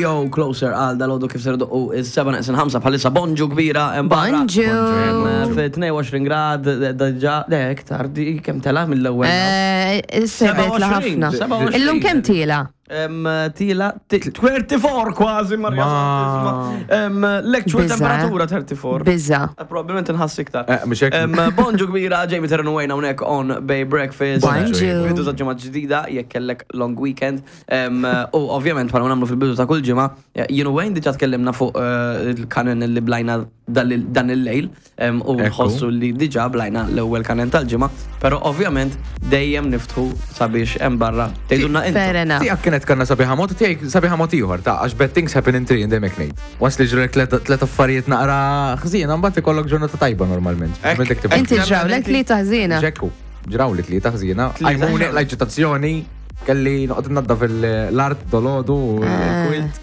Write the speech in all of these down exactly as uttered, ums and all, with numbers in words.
Yo, Closer għal dalgħodu kif ser u is-seba neqsin ħamsa bħalissa. Bonġu kbira hemm barra. Bonġu. Fi tnejn u għoxrin grad, diġà, le, iktar, di kemm tela mill-ewwel. Eh, Sebet la ħafna. sebgħa u għoxrin. Illum kemm tila? Em, Tila, ti- erbgħa u tletin kważi, Marja. Ma- Em, L-actual Biża'. temperatura erbgħa u tletin. Biża. Eh, Probabbilment nħass iktar. Eh, mhux hekk. Em, Bonġu kbira, Jamie Terran Wayne hawnhekk on Bay Breakfast. Bonġu. Bidu ta' ġimgħa ġdida, jekk kellek long weekend. Em, U ovvjament bħala nagħmlu fil-bidu ta' kull ġimgħa, jien u Wayne diġà tkellimna fuq eh, il-kanen li blajna dan dan il-lejl em, u Ekku. nħossu li diġà blajna l-ewwel kanen tal-ġimgħa, però ovvjament dejjem niftħu sabiex hemm barra tgħidulna intom. Fair enough. Tiegħek kienet kanna sabiħa mod, tiegħek sabiħa mod ieħor, ta' għax bad things happen in three dejjem hekk ngħid. Once li ġrek tliet affarijiet naqra ħżiena, mbagħad ikollok ġurnata tajba normalment. Ek- Meta tibqa' Inti ġrawlek li taħżina. Ġekku, ġraw li tlieta ħżiena, Tlieta. għajmuni l-eċitazzjoni, kelli noqgħod naddaf l-art dalgħodu u l-quilt.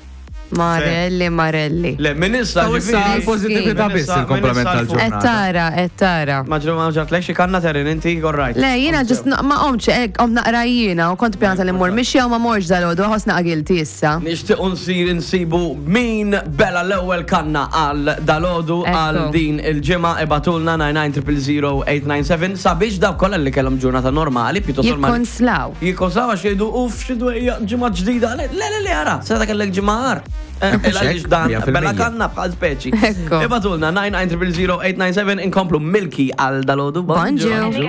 Marelli, Marelli. Le, minn issa Ta' issa ġifieri- l-pozitività Minn biss issa- il-komplement minn issa tal-ġurnata. Et tara, et tara. Ma ġru ma ġartlek xi kanna Terin inti, all right. Le, jiena just ma qomx, ek, qom naqra jiena u kont pjanata li mmur mixja u ma morx dalgħodu, ħoss naqgilti issa. Nixtiequ nsir insibu min bela l-ewwel kanna għal dalgħodu Ekku. għal din il-ġimgħa. Ibagħtulna tnejn tnejn zero zero zero tmien disa' sabiex dawk kollha li kellhom ġurnata normali, pjuttost normali. Jikkonslaw. Jikkonslaw għax jgħidu: "Uff, xi dwejja, ġimgħa ġdida." Le, le, le, ara, seta kellek ġimgħa għar. Eh, Mhux Għaliex hekk, dan mija fil-mija. bela kanna bħal speċi. Ekku. Ibagħtulna tnejn tnejn zero zero zero tmien disa' inkomplu Milky għal dalgħodu. Bonġu. Bonġu.